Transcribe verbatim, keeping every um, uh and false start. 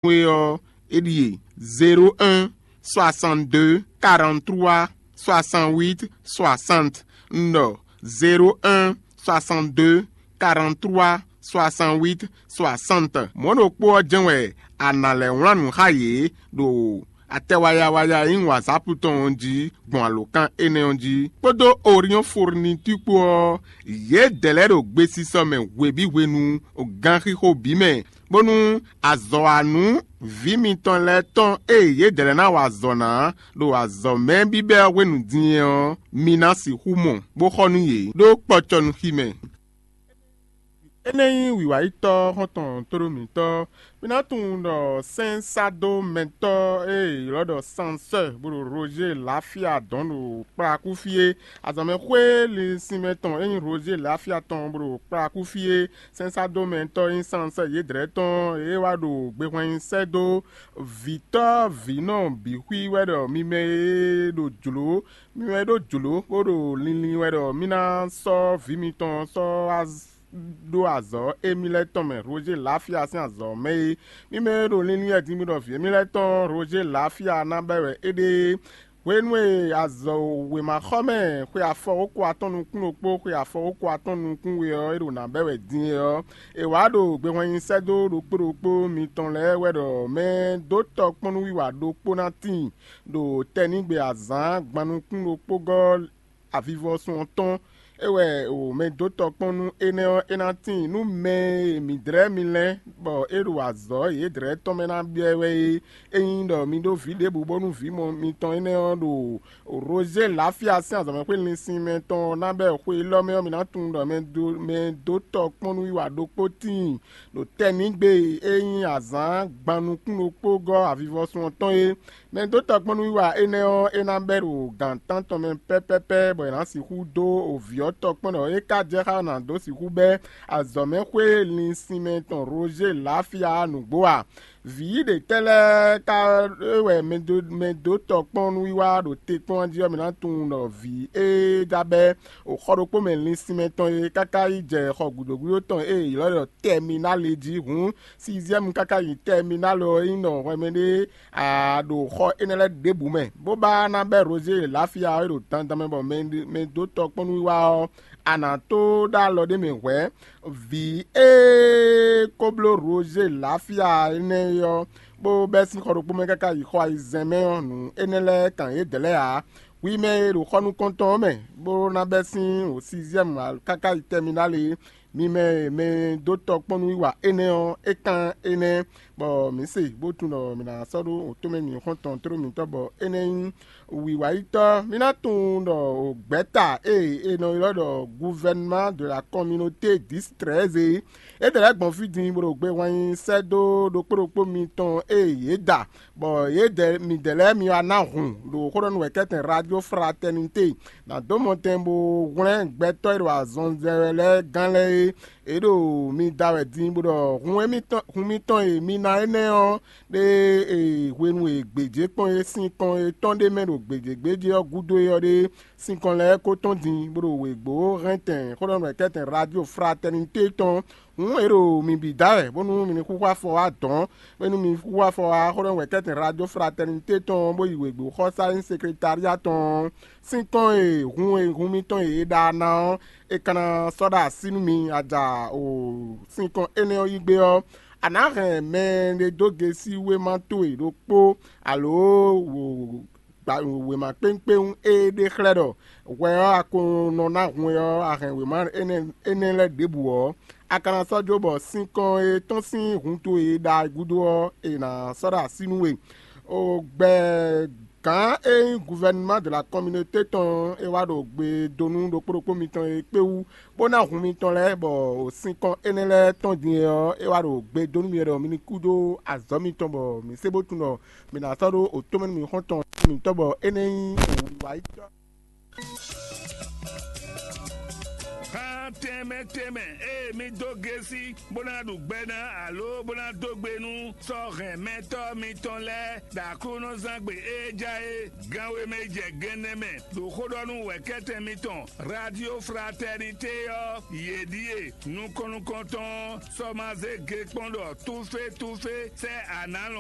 we ɔ́, é ɖíe: zéro un, soixante deux, quarante trois, soixante huit, soixante. Un ɖɔ: zéro un, soixante deux, quarante trois, soixante huit, soixante. Mɔ̌ ɖokpó ɔ́ jɛ́n wɛ a nǎ lɛ́ wlán nǔ xá yě ɖo atɛ wayawaya e nyí WhatsApp tɔn ɔ́ jí gbɔn alǒkan énɛ́ ɔ́ jí, kpódó Orion Fourniture kpó ɔ́, yědɛɛ lɛ́ɛ ɖo gbesisɔ mɛ hwebǐ hwenu, ganxixo bǐ mɛ, bónú azɔ̌ wa nú vǐ mitɔn lɛ́ɛ tɔn e yědɛɛ lɛ́ɛ ná wa azɔ̌ ná ɖo azɔ̌ mɛ bíbɛ́ ɔ́ hwenu din é ɔ́, mi ná sixú mɔ, bó xɔ nú yě ɖó kpɔcɔnúxi mɛ. Énɛ́ nyí wǐwáyítɔ́ xɔ́ntɔn tóɖó mǐtɔn. Mi ná tunwun ɖɔ sɛ́nsádomɛtɔ́ e è ylɔ́ ɖɔ Sansɛ́ bó ɖo Roger Lafia dɔn ɖo kplakúfí é. Azɔ̌mɛxwé linsinmɛ tɔn e nyí Roger Lafia tɔn bó ɖo kplakúfí é. Sɛ́nsádomɛtɔ́ e nyí Sansɛ́ yědrɛ́ tɔn e wá ɖo gbehwɛnyi sɛ́ dó vǐtɔ́ vǐnɔ bǐ xwí wɛ ɖɔ mi mɛ e ɖo jlǒ mi wɛ ɖó jlǒ bó ɖo linlin wɛ ɖɔ mì ná sɔ́ vǐ mitɔn sɔ́ wá ɖó azɔ̌ émí lɛ́ɛ tɔn mɛ Roger Lafia sín azɔ̌ mɛ é. Mì mɛ e ɖo linlin wɛ din bó ɖɔ vǐ émí lɛ́ɛ tɔn Roger Lafia ná bɛ́ wɛ é ɖe é. Hwenu e azɔ̌ wěmaxɔmɛ xwe afɔwókó atɔ́ɔ́n nukún ɖokpó xwe afɔwókó atɔ́ɔ́n nukún we ɔ́ é ɖo nǎ bɛ́ wɛ din é ɔ́, è wǎ ɖo gbehwɛnyi sɛ́ dó ɖokpó ɖokpó mitɔn lɛ́ɛ wɛ ɖɔ mɛ dó tɔkpɔ́núwiwa ɖokpó ná tíin ɖo tɛnígbe azǎn gbannukún ɖokpó gɔ́ avivɔsun ɔ́ tɔn. É wɛ o mɛ dó tɔkpɔ́n nú énɛ́ ɔ́, é ná tíin nú mɛ e mǐ dlɛ́ mi lɛ́n bɔ é ɖo azɔ̌ yědrɛ́ tɔn mɛ ná byɔ́ wɛ é. Ényí ɖɔ mi ɖó vǐ ɖěbǔ bónú vǐ mɔ mitɔn énɛ́ ɔ́ ɖo Roger Lafia sín azɔ̌mɛxwé linsin mɛ tɔn ná bɛ́ xwe élɔ́ mɛ ɔ́, mi ná tunwun ɖɔ mɛ dó tɔkpɔ́núwiwa ɖokpó tíin ɖo tɛnígbe e nyí azǎn gbannukún ɖokpó gɔ́ avivɔsun ɔ́ tɔn é. Mɛ dó tɔkpɔ́núwiwa énɛ́ ɔ́, é ná bɛ́ ɖo gǎn tántɔn mɛ pɛ́pɛ́pɛ́, bɔ è nǎ sixú dó vǐ ɔ́ tɔkpɔ́n ɖɔ é ka jɛ xá ɔ́ nǎ dó sixú bɛ́ azɔ̌mɛxwé linsin mɛ tɔn Roger Lafia nǔgbó a? Vǐ ɖě tɛ́ lɛ́ɛ ka é wɛ mɛ dó tɔkpɔ́núwiwa ɖo te kpɔ́n jí ɔ́, mi ná tunwun ɖɔ vǐ e ɖ'abɛ́ o xɔ ɖokpó mɛ linsin mɛ tɔn e káká yi jɛ xɔ gǔdo gúdo tɔn e è ylɔ́ ɖɔ tɛminál é jí hǔn, sixième káká yi tɛminál ɔ́ é nyí nɔ hwɛmɛ ɖé a ɖo xɔ énɛ́ lɛ́ɛ ɖěbǔ mɛ, bó ba ná bɛ́ Roger Lafia ɔ́ e ɖo dandan mɛ bɔ mɛ dó tɔkpɔ́núwiwa ɔ́, a nǎ tó ɖó alɔ ɖé mɛ hwɛ̌. Vǐ e ko bló Roger Lafia énɛ́ é ɔ́, bó bɛ́ sín xɔ ɖokpó mɛ káká yi xɔ ayizɛ́n mɛ ɔ́, nǔ énɛ́ lɛ́ɛ kan yě dlɛ́ ǎ. Hwi mɛ e ɖo xɔ nukɔntɔn ɔ́ mɛ, bó ná bɛ́ sín sixième káká yi tɛminál é, mi mɛ e mɛ dó tɔkpɔ́núwiwa énɛ́ ɔ́, é kán énɛ́, bɔ mǐ se bó tunwun ɖɔ mǐ ná sɔ́ ɖó wǒtomɛ mǐxɔ́ntɔn tló mǐtɔn, bɔ énɛ́ nyí wǐwáyítɔ́. Mǐ ná tunwun ɖɔ gbɛ̌ta e è nɔ ylɔ́ ɖɔ gouvernement de la communauté dix treize é, é dɛ lɛ́ gbɔn fí din bó ɖo gbe hwan nyi sɛ́ dó ɖokpó ɖokpó mitɔn e yě da, bɔ yědɛɛ midɛɛ lɛ́ɛ mi wá ná hun ɖo xó ɖɔ nú wɛ̌kɛ́tɛn Radio Fraternité, nǎ dó mɔtɛn bó hwlɛ́n gbɛtɔ́ e ɖo azɔn zɛ wɛ lɛ́ɛ gán lɛ́ɛ é. È ɖo mi da wɛ din bó ɖɔ hun mitɔn e mi ná énɛ́ ɔ́ ɖe hwenu e gbějé kpɔ́n é sín kɔn e tɔn ɖ'é mɛ ɖo gbějégbéjé ɔ́ gúdo é ɔ́ ɖe sín kɔn lɛ́ɛ ko tɔ́n din bó ɖo wěgbó hɛntɛn xó ɖɔ nú wɛ̌kɛ́tɛn Radio Fraternité tɔn. Hǔn è ɖo mi bǐ da wɛ bónú mi ní xúxú afɔ wá dɔ̌n, bónú mi xúxú afɔ wá xó ɖɔ wɛ kɛ́tɛn Radio Fraternité tɔn bó yi wěgbó xɔsá e nyí sekretária tɔn ɔ́ sín kɔn e hun e hun mitɔn e è ɖa ná ɔ́, è ka ná sɔ́ ɖo así nú mi. A ja o sín kɔn énɛ́ ɔ́ yí gbé ɔ́, a nǎ hɛn mɛ ɖé dó gesi wéma towe ɖokpó alo wěma kpéŋkpéŋ e ɖe xlɛ́ ɖɔ hwɛ ɔ́ a ko nɔ ná hun é ɔ́, a hɛn wěma énɛ́ lɛ́ɛ ɖěbǔ ɔ́, a ka ná sɔ́ jó bɔ sinkɔn e tɔ́n sín hun towe e ɖa gúdo ɔ́, è nǎ sɔ́ ɖo así nú we. O gbɛ gǎn e nyí gouvernement de la communauté tɔn ɔ́, é wá ɖo gbe dó nú ɖokpó ɖokpó mitɔn e kpé wú, bó ná hun mitɔn lɛ́ɛ, bɔ sinkɔn énɛ́ lɛ́ɛ tɔn din é ɔ́, é wá ɖo gbe dó nú mi ɖɔ mi ní kú dó azɔ̌ mitɔn, bɔ mi sé bó tunwun ɖɔ mi ná sɔ́ ɖó otɔ́mɛnú mǐxɔ́ntɔn mǐtɔn, bɔ é nɛ́ nyí wǐwáyítɔ́. Tɛnmɛ tɛnmɛ e mi dó gesi bó ná ɖu gbɛ ná alo bó ná dó gbe nú sɔ́ hɛn mɛtɔ́ mitɔn lɛ́ɛ ɖo Aklúnɔzángbe e ja é ganwe mɛ jɛ gɛnnɛ mɛ ɖo xó ɖɔ nú wɛ̌kɛ́tɛn mitɔn Radio Fraternité ɔ́, yě ɖíe nukɔn nukɔntɔn ɔ́ sɔ́ ma zé ge kpɔ́n ɖɔ túfé túfé sɛ́ anǎ